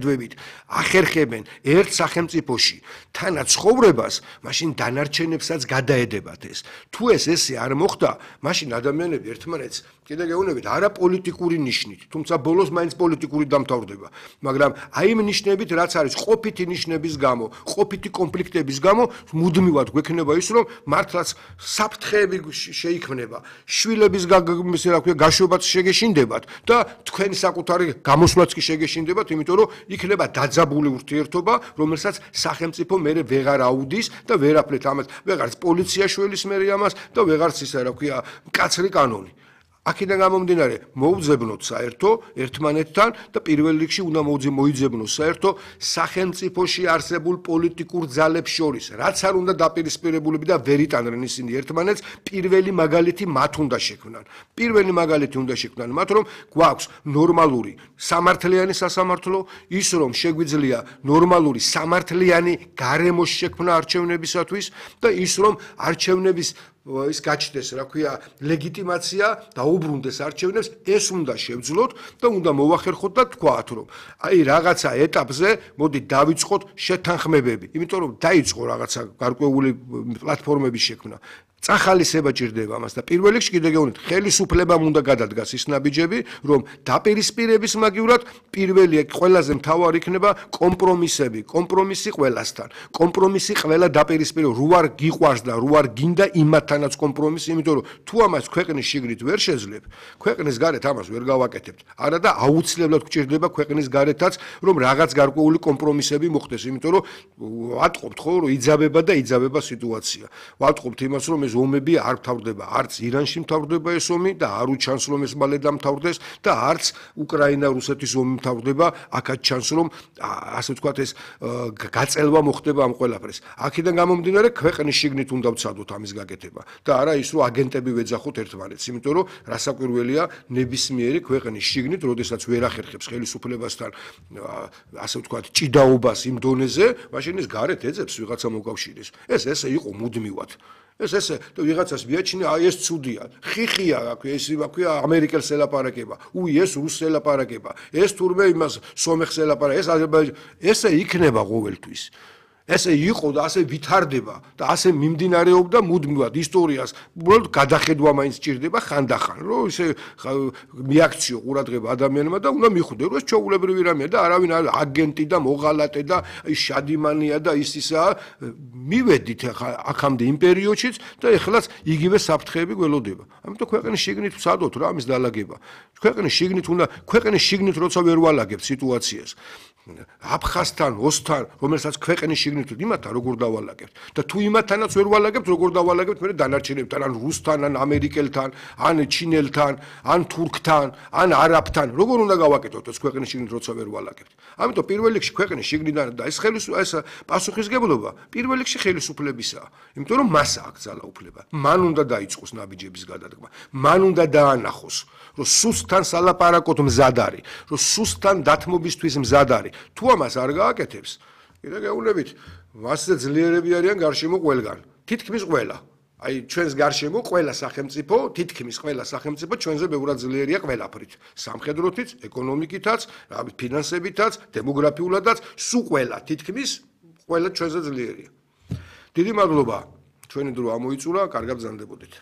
დვებით ახერხებენ ერთ სახელმწიფოში თანაც ცხოვრებას, მაშინ დანარჩენებსაც გადაედებათ ეს. თუ ესე არ მოხდა, მაშინ ადამიანები ერთმანეთს კიდე გეუბნებით არა პოლიტიკური ნიშნით, თუმცა ბოლოს მაინც პოლიტიკური დამთავრდება, მაგრამ აი იმ ნიშნებით, რაც არის ყოფითი ნიშნების გამო, ყოფითი კონფლიქტების გამო, მუდმივად გვექნება ის, რომ მართლაც საფრთხეები შეიქმნება, შვილების გაშვებაც შეგეშინდებათ და თქვენი საკუთარი გამოსვლაც კი შეგეშინდებათ, იმიტომ რომ იქნება დაძაბული ურთიერთობა, რომელსაც სახელმწიფო მერე ვეღარ აუდის და ვერაფრით ამას ვეღარც პოლიცია შველის მერე ამას და ვეღარც ისა რა ქვია მკაცრი კანონი. აქედან გამომდინარე მოუძებნოთ საერთო ერთმანეთთან და პირველ რიგში უნდა მოიძებნოს საერთო სახელმწიფოში არსებულ პოლიტიკურ ძალებს შორის, რაც არ უნდა დაპირისპირებულები და ვერ იტანდნენ ისინი ერთმანეთს, პირველი მაგალითი მათ უნდა შექმნან. პირველი მაგალითი უნდა შექმნან მათ, რომ გვაქვს ნორმალური სამართლიანი სასამართლო, ის რომ შეგვიძლია ნორმალური სამართლიანი გარემო შექმნა არჩევნებისათვის და ის რომ არჩევნების ის გაჩნდეს, რა ქვია, ლეგიტიმაცია და უბრუნდეს არჩევნებს, ეს უნდა შევძლოთ და უნდა მოვახერხოთ და თქვათ, რომ აი რაღაცა ეტაპზე მოდი დავიწყოთ შეთანხმებები, იმიტომ რომ დაიწყო რაღაცა გარკვეული პლატფორმების შექმნა. წახალისება ჭირდება ამას და პირველ რიგში კიდე გეუბნით, ხელისუფლებამ უნდა გადადგას ის ნაბიჯები, რომ დაპირისპირების მაგივრად პირველი ყველაზე მთავარი იქნება კომპრომისები, კომპრომისი ყველასთან. კომპრომისი ყველა დაპირისპირება, რო არ გიყვარს და რო არ გინდა იმათთანაც კომპრომისი, იმიტომ რომ თუ ამას ქვეყნის შიგნით ვერ შეძლებ, ქვეყნის გარეთ ამას ვერ გავაკეთებთ. არა და აუცილებლად გვჭირდება ქვეყნის გარეთაც, რომ რაღაც გარკვეული კომპრომისები მოხდეს, იმიტომ რომ ვატყობთ ხო, რომ იძაბება და იძაბება სიტუაცია. ვატყობთ იმას, რომ ომები არ მთავრდება, არც ირანში მთავრდება ეს ომი და არ უჩანს რომ ეს მალე დამთავრდეს და არც უკრაინა-რუსეთის ომი მთავრდება, აქაც ჩანს რომ ასე ვთქვათ ეს გაწელვა მოხდება ამ ყველაფერს. აქედან გამომდინარე ქვეყნის შიგნით უნდა ვცადოთ ამის გაკეთება და არა ის რომ აგენტები ვეძახოთ ერთმანეთს, იმიტომ რომ რასაკვირველია ნებისმიერი ქვეყნის შიგნით, როდესაც ვერ ახერხებს ხელისუფლებასთან ასე ვთქვათ ჭიდაობას იმ დონეზე, მაშინ ის გარეთ ეძებს ვიღაცა მოკავშირეს. ეს ესე იყო მუდმივად. ეს ვიღაცას მიაჩნია, აი ეს ცუდია, ხიხია, ეს ვაქვია ამერიკელს ელაპარაკება, ეს რუსს ელაპარაკება, ეს თურმე იმას სომეხს ელაპარაკება, ეს აზერბაიჯანს, ესე იქნება ყოველთვის. ესე იყო და ასე ვითარდება და ასე მიმდინარეობდა მუდმივად ისტორიას. უბრალოდ გადახედვა მაინც ჭირდება ხანდახან, რომ ისე მიაქციო ყურადღება ადამიანმა და უნდა მიხვდე, რომ ეს ჩვეულებრივი რამეა და არავინ აგენტი და მოღალატე და შადიმანია და ისაა. მივედით აქამდე იმ პერიოდშიც და ეხლაც იგივე საფრთხეები გველოდება. ამიტომ ქვეყნის შიგნით ვცადოთ რა ამის დალაგება. ქვეყნის შიგნით როცა ვერ ვალაგებთ სიტუაციას. აფხაზთან, ოსთან, რომელსაც ქვეყნის შიგნით იმათთან როგორ დავალაგებთ და თუ იმათთანაც ვერ ვალაგებთ, როგორ დავალაგებთ მე დანარჩენებთან, ან რუსთან, ან ამერიკელთან, ან ჩინელთან, ან თურქთან, ან არაბთან, როგორ უნდა გავაკეთოთ ეს ქვეყნის შიგნით როცა ვერ ვალაგებთ. ამიტომ პირველ რიგში ქვეყნის შიგნიდან და ეს პასუხისგებლობა პირველ რიგში ხელისუფლებისაა, იმიტომ რომ მას აქვს ძალაუფლება. მან უნდა დაიწყოს ნაბიჯების გადადგმა, მან უნდა დაანახოს, რომ სუსტთან სალაპარაკოთ მზად არის, რომ სუსტთან დათმობისთვის მზად არის. თუ ამას არ გააკეთებს, კიდე გეუბნებით, მასზე ძლიერები არიან გარშემო ყველგან, თითქმის ყველა. აი ჩვენს გარშემო ყველა სახელმწიფო, თითქმის ყველა სახელმწიფო ჩვენზე ბევრად ძლიერია ყველაფრით. სამხედროთიც, ეკონომიკითაც, ფინანსებითაც, დემოგრაფიულადაც, სულ ყველა, თითქმის ყველა ჩვენზე ძლიერია. დიდი მადლობა, ჩვენი დრო ამოიწურა, კარგად ბრძანდებოდეთ.